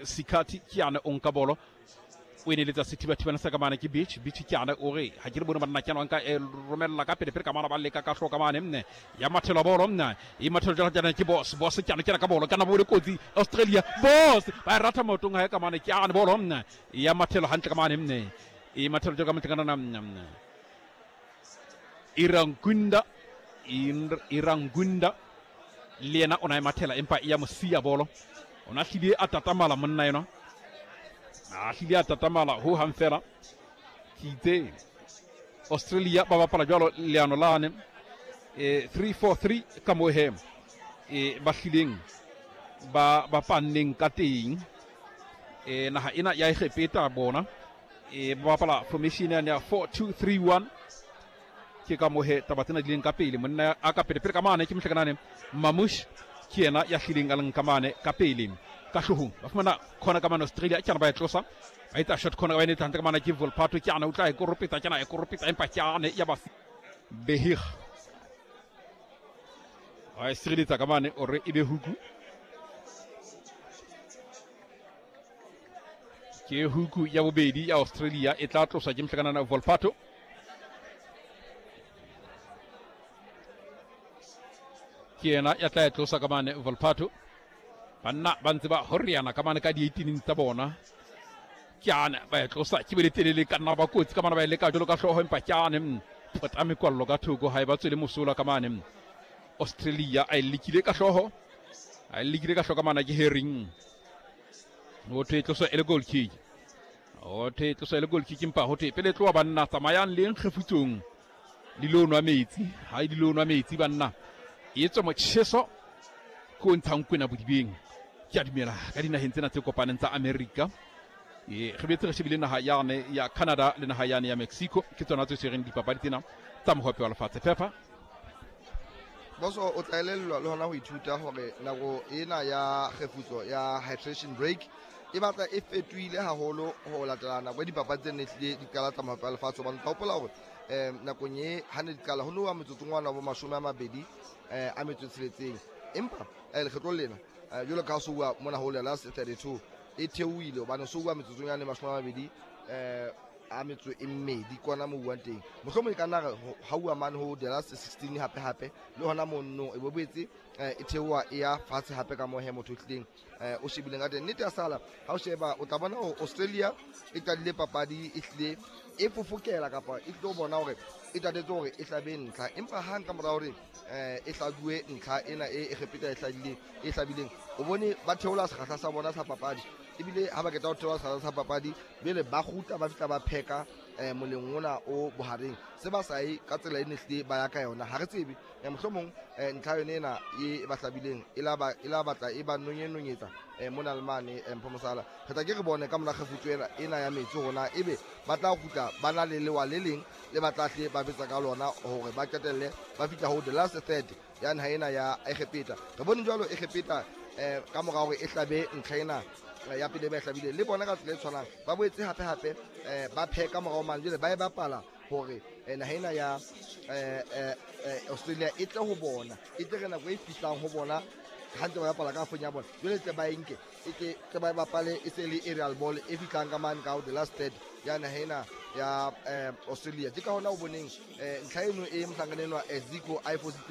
Sikhathi ke yane o nka bolo o e neletsa sethibathibana sa ka mane ke Beach. Beach ke yane o re ha ke re bone banna ke yana nka e romella ka pele pele ka mane ba leka ka hloka mane nne ya mathelo bolo nne e mathelo jalo jana ke Boss. Boss ke yana ke ka bolo kana bole kotsi Australia. Boss ba e ratha maotong ha e ka mane ke yane bolo nne ya mathelo hantle ka mane nne e mathelo jalo ka motlhangana nne Irangunda Irangunda le yena o na e mathela empa e ya mo siya bolo. O na hlile a tatamala monna enwa, a hlile a tatamala ho hang fela. Ke itse Australia ba bapala jwalo leano lane 3-4-3 ka moo he ba hlileng ba bapanneng ka teng. Naha ena ya Egepeta bona ba bapala formation yane ya 4-2-3-1. Ke ka moo he taba tsena di leng ka pele. Monna a ka pele pele ka mane ke mohlakanane Mamush, ke yena ya hlileng a leng ka mane ka pele ka hloohong. Ba fumana khona ka mane Australia, ke yana ba e tlosa, ba etsa shot khona ba e netsa hantle ka mane ke Volpato, ke yana o tla e koropetsa, ke yana e koropetsa empa ke yane ya ba Behig ba e sireletsa ka mane ore e be huku. Ke huku ya bobedi ya Australia e tla tloswa ke mohlakanana Volpato. Ke yena ya tla e tlosa ka mane Volpato. Banna ba ntse ba horiana ka mane ka di-18 tsa bona. Ke ane ba e tlosa ke bele telele ka nna ba kotsi ka mane ba e leka jalo ka hlooho empa ke ane pota mekwallo ka thoko ha e ba tswele mosola ka mane. Australia a e lekile ka hlooho, a e lekile ka hlooho ka mane ke Herring. Ho thwe tloso e le goal kick, ho thwe tloso e le goal kick empa ho thwe pele tloha banna tsamayang le nkgefutsong di lo nwa metsi. Ha di lo nwa metsi banna, e tswe motjheso ke o ntshang kwena bodibeng. Ke a dumela ka dinaheng tsena tse kopaneng tsa Amerika. Re betse re shebile naha yane ya Canada le naha yane ya Mexico, ke tsona tse tshwereng dipapadi tsena tsa mohope wa lefatshe FIFA. Boso o tla elellwa le hona ho ithuta hore nako ena ya kgefutso ya hydration break e batla e fetohile haholo ho latela nako e dipapadi tse ne hlile di qala tsa mohope wa lefatshe. Hobane tla hopola hore nakong e ha ne di qala ho nowa metsotsongwana bo 20 a metso e tsheletseng, empa lekgetlong lena jwalo ka ha so bua mona ho the last 32 e theohile, hobane so bua metsotsong yane 20 a metso e mmedi kwana mo buang teng. Mohlomong e ka nna re ha ua mane ho the last 16 hape hape le hona monno e bo boetse e theoha e ya fatshe hape ka mohe motho o tlileng o shebileng ka teng. Nnete ya sala ha o sheba o tla bona hore Australia e qadile papadi e hlile e fofokela kapa e tlo bona hore e tatetse hore e hlabe ntlha, empa hang ka mora hore e hlabuwe ntlha ena e Egepeta e hlabile e hlabileng, o bone ba theola sekgahla sa bona sa papadi. Ebile ha ba qeta ho theola sekgahla sa papadi bele ba kgutla ba fihla ba pheka moleng ona o bohareng, se ba sa ye ka tsela e ne hlile ba ya ka yona. Ha re tsebe mohlomong ntlha yone ena e ba hlabileng e la ba e la batla e ba nonyenonyetsa mona le mane Mpho Mosala. Re tla ke re bone ka mora kgefutso ena ya metsi hore ebe ba tla kgutla ba na le lewa le leng le ba tla hle ba betsa ka lona hore ba qetelle ba fihla ho the last third ya naha ena ya Egepeta. Re bone jwalo Egepeta ka mora hore e hlabe ntlha ena ya pele ba e hlabile le bona ka tsela e tshwanang, ba boetse hape hape ba pheka morao mane jwale ba e bapala hore naha ena ya Australia e tle ho bona, e tle re nako e fihlang ho bona ha ntse ba bapala ka fong ya bona jwale tle ba e nke e tle ba e bapale e se le aerial ball e fihlang ka mane ka the last third ya naha ena ya Australia. Ke ka hona o boneng ntlha eno e mohlankana enwa Zico a e fositse.